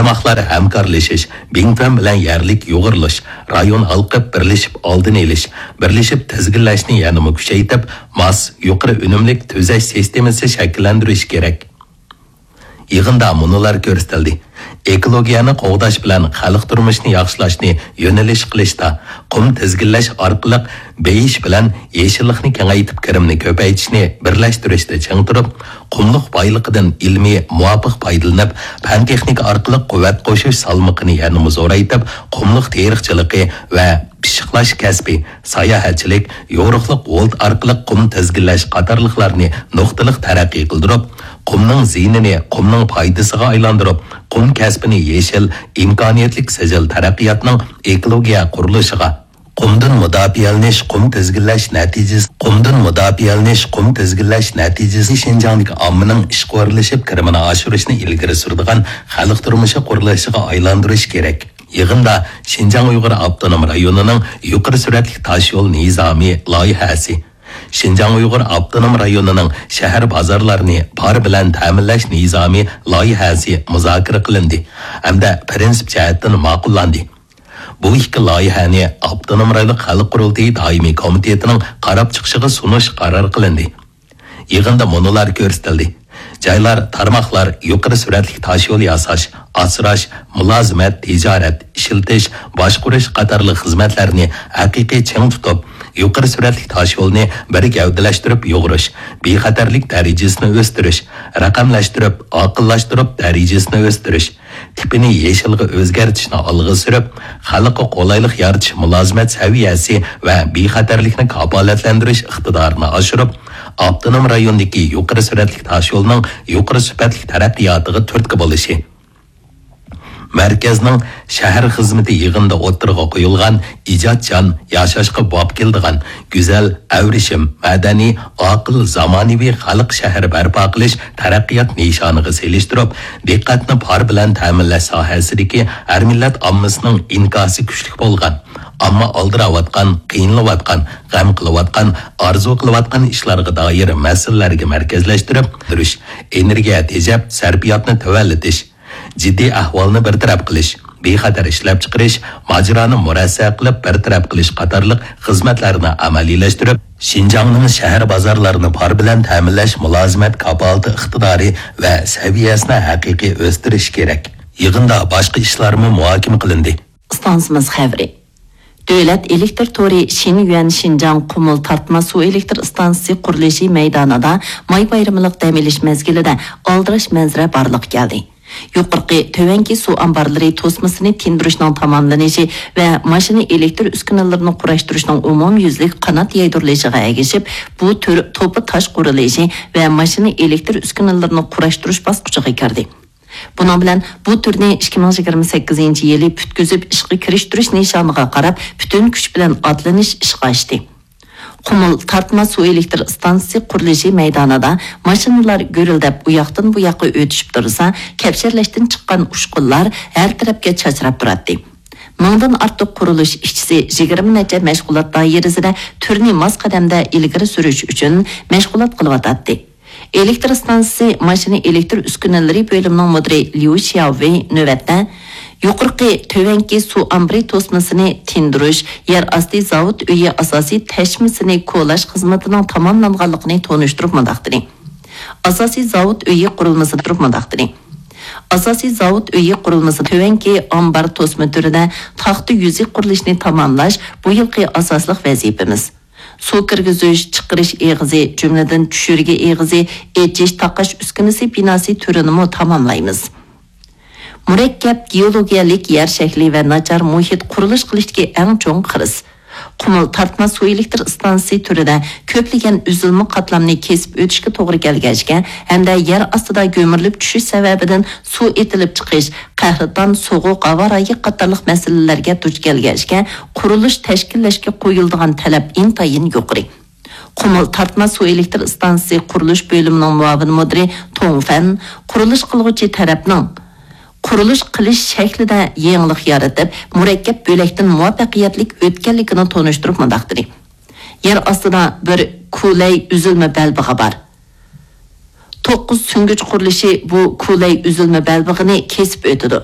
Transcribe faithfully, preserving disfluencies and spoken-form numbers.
تارماقلار ھەمكارلىشىش، بىڭتۈەن بىلەن يەرلىك يۇغۇرۇلۇش، رايون ھالقىپ بىرلىشىپ ئالدىنى ئېلىش، بىرلىشىپ تىزگىنلەشنى يەنىمۇ كۈچەيتىپ، ماس، يۇقىرى ئۈنۈملۈك تۈزەش سىستېمىسى شەكىللەندۈرۈش كېرەك. يىغىندا مۇنۇلار كۆرسىتىلدى: ئېكولوگىيەنى قوغداش بىلەن خەلق تۇرمۇشىنى ياخشىلاشنى يۆنىلىش قىلىشتا، قۇم تىزگىنلەش ئارقىلىق بېيىش بىلەن يېشىللىقنى كېڭەيتىپ، كىرىمنى كۆپەيتىشنى بىرلەشتۈرۈشتە چىڭ تۇرۇپ، قۇملۇق بايلىقىدىن ئىلمىي مۇۋاپىق پايدىلىنىپ، پەن-تېخنىكا ئارقىلىق قۇۋۋەت قوشۇش سالمىقىنى يەنىمۇ زورايتىپ، قۇملۇق تېرىقچىلىقى ۋە پىششىقلاش كەسپى، ساياھەتچىلىك، يورۇقلۇق ۋولت ئارقىلىق قۇم تىزگىنلەش قاتارلىقلارنى نۇقتىلىق تەرەققىي قىلدۇرۇپ، قۇمنىڭ زىيىنىنى قۇمنىڭ پايدىسىغا ئايلاندۇرۇپ، قۇم كەسپىنى يېشىل، ئىمكانىيەتلىك سىجىل تەرەققىياتنىڭ ئېكولوگىيە قۇرۇلۇشىغا، قۇمدىن مۇداپىئەلىنىش، قۇم تىزگىنلەش نەتىجىسى، قۇمدىن مۇداپىئەلىنىش، قۇم تىزگىنلەش نەتىجىسى شىنجاڭدىكى ئاممىنىڭ ئىشقا ئورۇنلىشىپ، كىرىمىنى ئاشۇرۇشنى ئىلگىرى سۈرىدىغان خەلق تۇرمۇشى قۇرۇلۇشىغا ئايلاندۇرۇش كېرەك. يىغىندا شىنجاڭ ئۇيغۇر ئاپتونوم رايونىنىڭ يۇقىرى سۈرئەتلىك تاشيول نىزامى لايىھەسى، شىنجاڭ ئۇيغۇر ئاپتونوم رايونىنىڭ شەھەر بازارلارنى پار بىلەن تەمىنلەش نىزامى لايىھەسى مۇزاكىرە قىلىندى ھەمدە پىرىنسىپ جەھەتتىن ماقۇللاندى. بۇ ئىككى لايىھەنى ئاپتونوم رايونلۇق خەلق قۇرۇلتىيى دائىمىي كومىتېتىنىڭ قاراپ چىقىشىغا سۇنۇش قارار قىلىندى. يىغىندا مۇنۇلار كۆرسىتىلدى: جايلار، تارماقلار يۇقىرى سۈرئەتلىك تاشيول ياساش، ئاسراش، مۇلازىمەت، تىجارەت، ئىشلىتىش، باشقۇرۇش قاتارلىق خىزمەتلەرنى ھەقىقىي چىڭ تۇتۇپ، يۇقىرى سۈرئەتلىك تاشيولنى بىر گەۋدىلەشتۈرۈپ يۇغۇرۇش، بىخەتەرلىك دەرىجىسىنى ئۆستۈرۈش، رەقەملەشتۈرۈپ، ئاقىللاشتۇرۇپ دەرىجىسىنى ئۆستۈرۈش، تىپىنى يېشىلغا ئۆزگەرتىشنى ئالغا سۈرۈپ، خەلققە قولايلىق يارىتىش مۇلازىمەت سەۋىيەسى ۋە بىخەتەرلىكنى كاپالەتلەندۈرۈش ئىقتىدارىنى ئاشۇرۇپ، ئاپتونوم رايوندىكى يۇقىرى سۈرئەتلىك تاشيولنىڭ يۇقىرى سۈپەتلىك تەرەققىياتىغا تۈرتكە بولۇشى. مەركەزنىڭ شەھەر خىزمىتى يىغىنىدا ئوتتۇرىغا قويۇلغان ئىجادچان، ياشاشقا باب كېلىدىغان، گۈزەل، ئەۋرىشىم، مەدەنىي، ئاقىل، زامانىۋى خەلق شەھىرى بەرپا قىلىش تەرەققىيات نىشانىغا سېلىشتۇرۇپ، دىققەتنى پار بىلەن تەمىنلەش ساھەسىدىكى ھەر مىللەت ئاممىسىنىڭ ئىنكاسى كۈچلۈك بولغان، ئامما ئالدىراۋاتقان، قىينىلىۋاتقان، غەم قىلىۋاتقان، ئارزۇ قىلىۋاتقان ئىشلارغا دائىر مەسىلىلەرگە مەركەزلەشتۈرۈپ، ئېنېرگىيە تېجەپ، سەرپىياتنى تۆۋەنلىتىش، جىددىي ئەھۋالنى بىر تەرەپ قىلىش، بىخەتەر ئىشلەپچىقىرىش، ماجىرانى مۇرەسسە قىلىپ بىر تەرەپ قىلىش قاتارلىق خىزمەتلەرنى ئەمەلىيلەشتۈرۈپ، شىنجاڭنىڭ شەھەر بازارلىرىنى پار بىلەن تەمىنلەش مۇلازىمەت كاپالىتى ئىقتىدارى ۋە سەۋىيەسىنى ھەقىقىي ئۆستۈرۈش كېرەك. يىغىندا باشقا ئىشلارمۇ مۇھاكىمە قىلىندى. ئىستانسىمىز خەۋىرى. دۆلەت ئېلېكتر تورى شىنيۈەن شىنجاڭ قۇمۇل تارتما سۇ ئېلېكتر ئىستانسىسى قۇرۇلۇشى مەيدانىدا ماي بايرىمىلىق دەم ئېلىش مەزگىلىدە ئالدىراش مەنزىرە بارلىققا كەلدى. يۇقىرىقى تۆۋەنكى سۇ ئامبارلىرى توسمىسىنى تىندۇرۇشنىڭ تاماملىنىشى ۋە ماشىنا ئېلېكتر ئۈسكۈنىلىرىنى قۇراشتۇرۇشنىڭ ئومۇميۈزلۈك قانات يايدۇرۇلۇشىغا ئەگىشىپ، بۇ تۈر توپا تاش قۇرۇلۇشى ۋە ماشىنا ئېلېكتر ئۈسكۈنىلىرىنى قۇراشتۇرۇش باسقۇچىغا كىردى. بۇنىڭ بىلەن بۇ تۈرنى ئىككى مىڭ يىگىرمە سەككىزىنچى يىلى پۈتكۈزۈپ ئىشقا كىرىشتۈرۈش نىشانىغا قاراپ پۈتۈن كۈچ بىلەن ئاتلىنىش ئىشقا ئاشتى. قۇمۇل تارتما سۇ ئېلېكتر ئىستانسىسى قۇرۇلۇشى مەيدانىدا ماشىنىلار گۈرۈلدەپ ئۇياقتىن بۇياققا ئۆتۈشۈپ تۇرسا، كەپشەرلەشتىن چىققان ئۇچقۇنلار ھەر تەرەپكە چاچراپ تۇراتتى. مىڭدىن ئارتۇق قۇرۇلۇش ئىشچىسى يىگىرمە نەچچە مەشغۇلات دائىرىسىدە تۈرنى ماس قەدەمدە ئىلگىرى سۈرۈش ئۈچۈن مەشغۇلات قىلىۋاتاتتى. ئېلېكتر ئىستانسىسى ماشىنا ئېلېكتر ئۈسكۈنىلىرى بۆلۈمىنىڭ مۇدىرى ليۇ شياۋېي نۆۋەتتە يۇقىرىقى تۆۋەنكى سۇ ئامبىرى توسمىسىنى تىندۇرۇش، يەر ئاستى زاۋۇت ئۆيى ئاساسىي تەشمىسىنى كولاش خىزمىتىنىڭ تاماملانغانلىقىنى تونۇشتۇرۇپ مۇنداق دېدى. ئاساسىي زاۋۇت ئۆيى قۇرۇلمىسى تۇرۇپ مۇنداق دېدى. ئاساسىي زاۋۇت ئۆيى قۇرۇلمىسى تۆۋەنكى ئامبار توسما تۈرىدە تاختا يۈزى قۇرۇلۇشىنى تاماملاش بۇ يىلقى ئاساسلىق ۋەزىپىمىز. سۇ كىرگۈزۈش، چىقىرىش ئېغىزى، جۈملىدىن چۈشۈرگە ئېغىزى، ئېچىش، تاقاش ئۈسكۈنىسى بىناسى تۈرىنىمۇ تاماملايمىز. مۇرەككەپ گېئولوگىيەلىك يەر شەكلى ۋە ناچار مۇھىت قۇرۇلۇش قىلىشتىكى ئەڭ چوڭ خىرىس. قۇمۇل تارتما سۇ ئېلېكتر ئىستانسىسى تۈرىدە كۆپلىگەن ئۈزۈلمە قاتلامنى كېسىپ ئۆتۈشكە توغرا كەلگەچكە ھەمدە يەر ئاستىدا گۆمۈرۈلۈپ چۈشۈش سەۋەبىدىن سۇ ئېتىلىپ چىقىش، قەھرىتان، سوغۇق ھاۋا رايى قاتارلىق مەسىلىلەرگە دۇچ كەلگەچكە، قۇرۇلۇش تەشكىللەشكە قويۇلىدىغان تەلەپ ئىنتايىن يۇقىرى. قۇمۇل تارتما سۇ ئېلېكتر ئىستانسىسى قۇرۇلۇش بۆلۈمىنىڭ مۇئاۋىن مۇدىرى توڭ فەن قۇرۇلۇش قىلغۇچى تەرەپنىڭ قۇرۇلۇش قىلىش شەكلىدە يېڭىلىق يارىتىپ، مۇرەككەپ بۆلەكتىن مۇۋەپپەقىيەتلىك ئۆتكەنلىكىنى تونۇشتۇرۇپ مۇنداق دېدى: يەر ئاستىدا بىر كۇلەي ئۈزۈلمە بەلبېغى بار. توققۇز سۈڭگۈچ قۇرۇلۇشى بۇ كۇلەي ئۈزۈلمە بەلبېغىنى كېسىپ ئۆتىدۇ.